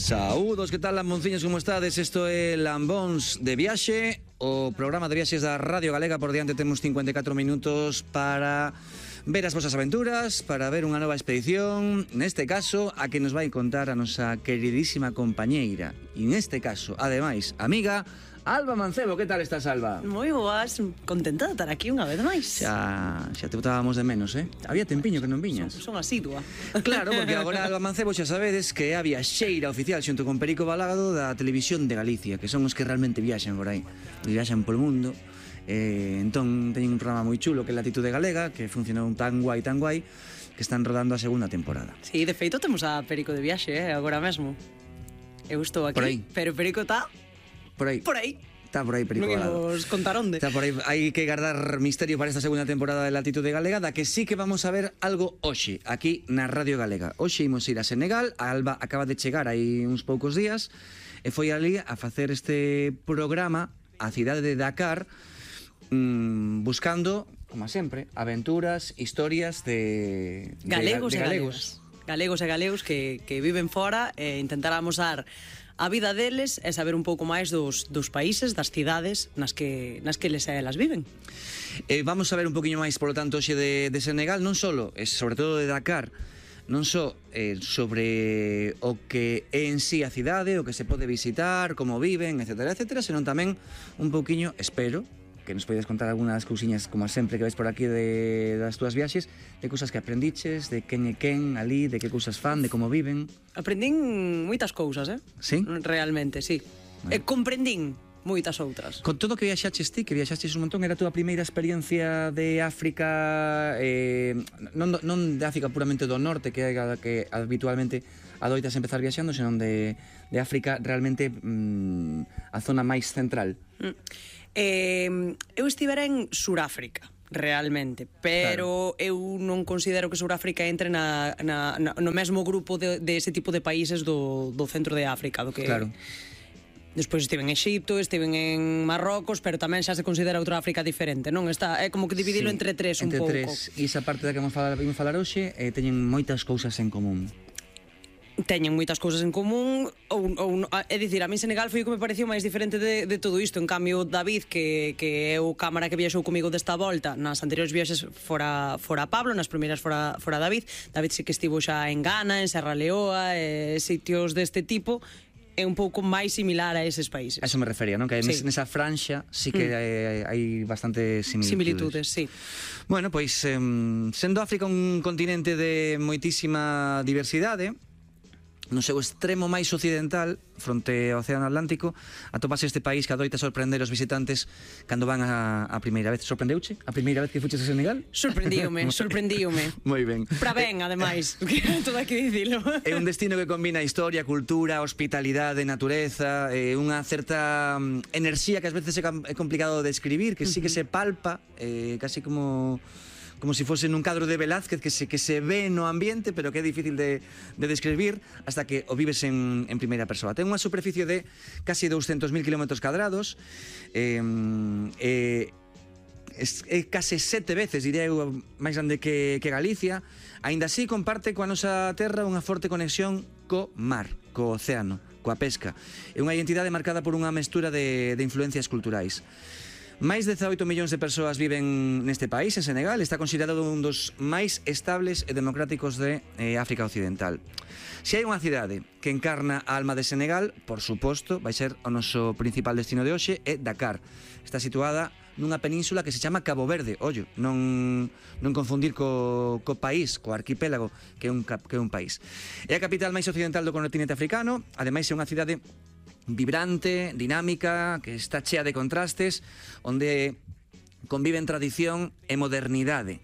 Saúdos, que tal, lambonciños, como estades? Isto é Lambóns de Viaxe, o programa de viaxes da Radio Galega. Por diante temos 54 minutos para ver as vosas aventuras, para ver unha nova expedición, neste caso, a que nos vai contar a nosa queridísima compañeira, e neste caso, ademais, amiga, Alba Mancebo. Que tal estás, Alba? Moi boas, contenta de estar aquí unha vez máis. Xa te botábamos de menos, eh? Había tempiño que non viñas. Son asidua. Claro, porque agora Alba Mancebo xa sabedes que é a viaxeira oficial xunto con Perico Balado da Televisión de Galicia, que son os que realmente viaxan por aí, viaxan polo mundo. Entón teñen un programa moi chulo que é Latitude Galega, que funcionou tan guai, que están rodando a segunda temporada. Sí, de feito temos a Perico de viaxe, agora mesmo. Eu estou aquí, por aí. Pero Perico está por aí. Está por aí, Perico Balado. Non nos contaron onde. Está por aí. Hai que guardar misterio para esta segunda temporada de Latitude Galega, da que sí que vamos a ver algo hoxe, aquí na Radio Galega. Hoxe imos ir a Senegal. A Alba acaba de chegar aí uns poucos días e foi ali a facer este programa a cidade de Dakar, buscando, como sempre, aventuras, historias de galegos. Galegos e galegos que viven fora e intentar amosar a vida deles e saber un pouco máis dos países, das cidades nas que eles e elas viven. Vamos a ver un poquinho máis, polo tanto, hoxe de Senegal, non solo, sobre todo de Dakar, non só sobre o que é en sí a cidade, o que se pode visitar, como viven, etcétera, senón tamén un pouquiño, espero, que nos podes contar algunhas cousiñas, como sempre, que ves por aquí das túas viaxes, de cousas que aprendiches, de quen é quen ali, de que cousas fan, de como viven. Aprendín moitas cousas, Sí? Realmente, sí. Bueno. Comprendín moitas outras. Con todo que viaxaches ti, que viaxaches un montón, era a túa primeira experiencia de África, non de África puramente do norte, que habitualmente adoitas empezar viaxando, senón de África realmente a zona máis central. Eu estivera en Suráfrica, realmente, pero claro, eu non considero que Suráfrica entre no mesmo grupo de ese tipo de países do centro de África, do que... Claro. Despois estive en Exipto, estive en Marrocos, pero tamén xa se considera outra África diferente, non? É como que dividilo entre tres un pouco. Entre tres, e esa parte da que vamos falar hoxe teñen moitas cousas en común. Teñen moitas cousas en común é dicir, a mí Senegal foi o que me pareceu máis diferente de todo isto. En cambio, David, que é o cámara que viaxou comigo desta volta, nas anteriores viaxes fora Pablo, nas primeiras fora David sí que estivo xa en Ghana, en Serra Leoa, sitios deste tipo. É un pouco máis similar a eses países. A eso me refería, non? Que nesa franxa sí que hai bastante similitudes. Sí. Bueno, pois, sendo África un continente de moitísima diversidade, no seu extremo máis occidental, fronte ao Océano Atlántico, atopase este país que adoita sorprender os visitantes cando van a primeira vez. Sorprendeuche a primeira vez que fuches a Senegal? Sorprendíome. Moi ben. Para ben, ademais, todo hai que dicilo. É un destino que combina historia, cultura, hospitalidade, natureza, unha certa enerxía que ás veces é complicado de describir, que sí que se palpa, casi como si fose nun cadro de Velázquez que se ve no ambiente, pero que é difícil de describir hasta que o vives en primeira persoa. Ten unha superficie de casi 200.000 km², é case 7 veces, diría eu, máis grande que Galicia. Aínda así comparte coa nosa terra unha forte conexión co mar, co océano, coa pesca. É unha identidade marcada por unha mestura de influencias culturais. Máis de 18 millóns de persoas viven neste país, en Senegal. Está considerado un dos máis estables e democráticos de África Occidental. Se hai unha cidade que encarna a alma de Senegal, por suposto, vai ser o noso principal destino de hoxe, é Dakar. Está situada nunha península que se chama Cabo Verde. Ollo, non confundir co país, co arquipélago, que é un país. É a capital máis occidental do continente africano. Ademais, é unha cidade vibrante, dinámica, que está chea de contrastes, onde conviven tradición e modernidade.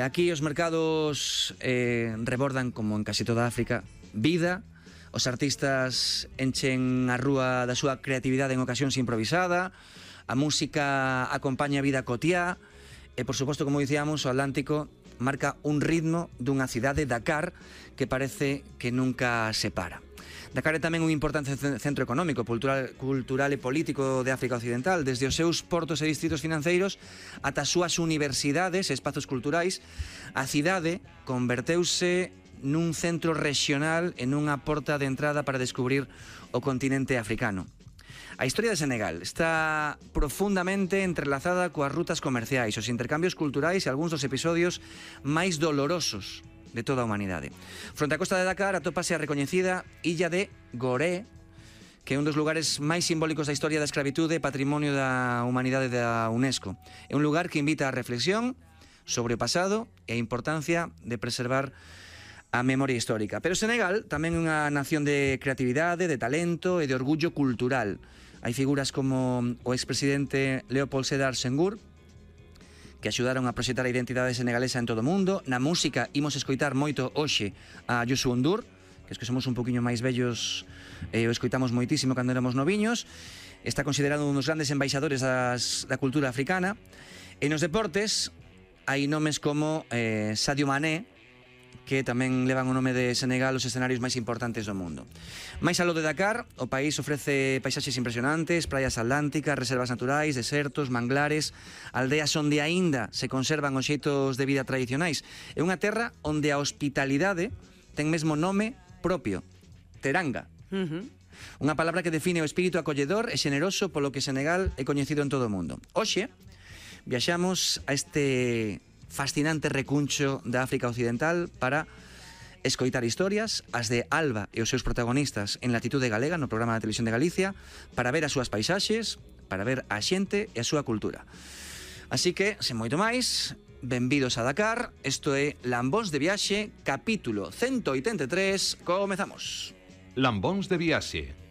Aquí os mercados rebordan, como en casi toda África, vida. Os artistas enchen a rúa da súa creatividade en ocasións improvisada. A música acompaña a vida cotiá. E, por suposto, como dicíamos, o Atlántico marca un ritmo dunha cidade, Dakar, que parece que nunca se para. Dakar é tamén un importante centro económico, cultural e político de África Occidental, desde os seus portos e distritos financeiros ata as súas universidades e espazos culturais. A cidade converteuse nun centro regional e nunha porta de entrada para descubrir o continente africano. A historia de Senegal está profundamente entrelazada coas rutas comerciais, os intercambios culturais e algúns dos episodios máis dolorosos de toda a humanidade. Fronte á costa de Dakar atópase a recoñecida illa de Gorée, que é un dos lugares máis simbólicos da historia da escravitude e patrimonio da humanidade da UNESCO. É un lugar que invita á reflexión sobre o pasado e a importancia de preservar a memoria histórica. Pero Senegal tamén é unha nación de creatividade, de talento e de orgullo cultural. Hai figuras como o expresidente Léopold Sédar Senghor, que axudaron a proxectar a identidade senegalesa en todo o mundo. Na música imos escoitar moito hoxe a Youssou N'Dour, que es que somos un poquinho máis vellos e o escoitamos moitísimo cando éramos noviños. Está considerado un dos grandes embaixadores da cultura africana. E nos deportes hai nomes como Sadio Mané, que tamén levan o nome de Senegal os escenarios máis importantes do mundo. Mais aló de Dakar, o país ofrece paisaxes impresionantes, praias atlánticas, reservas naturais, desertos, manglares, aldeas onde aínda se conservan os xeitos de vida tradicionais. É unha terra onde a hospitalidade ten mesmo nome propio, teranga. Unha palabra que define o espírito acolledor e xeneroso polo que Senegal é coñecido en todo o mundo. Hoxe, viaxamos a este fascinante recuncho da África Occidental para escoitar historias, as de Alba e os seus protagonistas en Latitude Galega, no programa de televisión de Galicia, para ver as súas paisaxes, para ver a xente e a súa cultura. Así que, sen moito máis, benvidos a Dakar. Isto é Lambóns de Viaxe, capítulo 183. Comezamos. Lambóns de Viaxe.